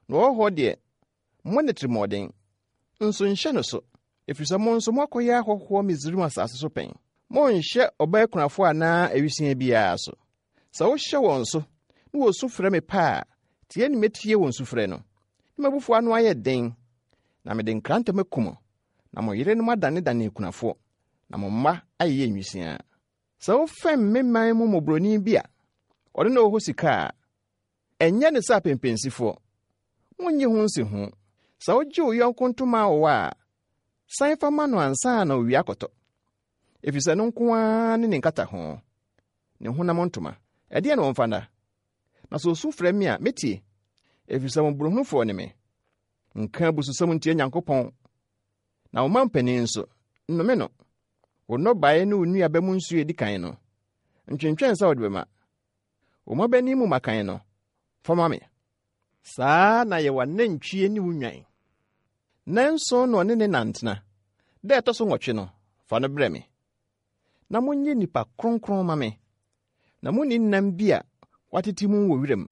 Na ɔhɔhoɔ deɛ, mmɔ no atirimuɔden, nso nhyɛ no so, ɛfiri sɛ mo nso moakɔyɛ ahɔhoɔ Misraim asase so pɛn. Monnhyɛ ɔbaa kunafoɔ anaa awisiaa biara so. Sɛ wohyɛ wɔn so na wɔsu frɛ me pɛ a, tie ne mɛtie wɔn sufrɛ no, na m'abufuo ano ayɛ den, na mede nkrantɛ maku mo, na mo yerenom adanedane akunafoɔ, na mo mma ayeyɛ nwisiaa. Sɛ wofɛm me man mu mmɔborɔni bi a ɔne no wɔ hɔ sika a, ɛnyɛ no sɛ apempensifoɔ. Monnye ho nsiho. Sɛ wogye wo yɔnko ntoma awowa a, san fa ma no ansa na owia akɔtɔ, efisɛ ɛno nko ara ne ne nkataho, ne honam ntoma. Ɛdeɛn na wɔmfa nna? Na sɛ osu frɛ me a, metie, efisɛ mmɔborɔhunufoɔ ne me. Nka abususɛm ntia Nyankopɔn, na wo mampanin nso, nnome no. Wo nnɔbaeɛ ne wo nnuaba mu nsuo a edi kan no, ntwentwɛn sɛ wode bɛma. Wo mmabanin mu mmakan no, fa ma me. Saa ara na yɛ w'anantwie ne wo nnwan. Nnanson na ɔne ne na ntena. Da a ɛtɔ so nwɔtwe no, fa no brɛ me. Na monyɛ nnipa kronkron mma me, na munni nam bi a wɔatete mu wɔ wiram.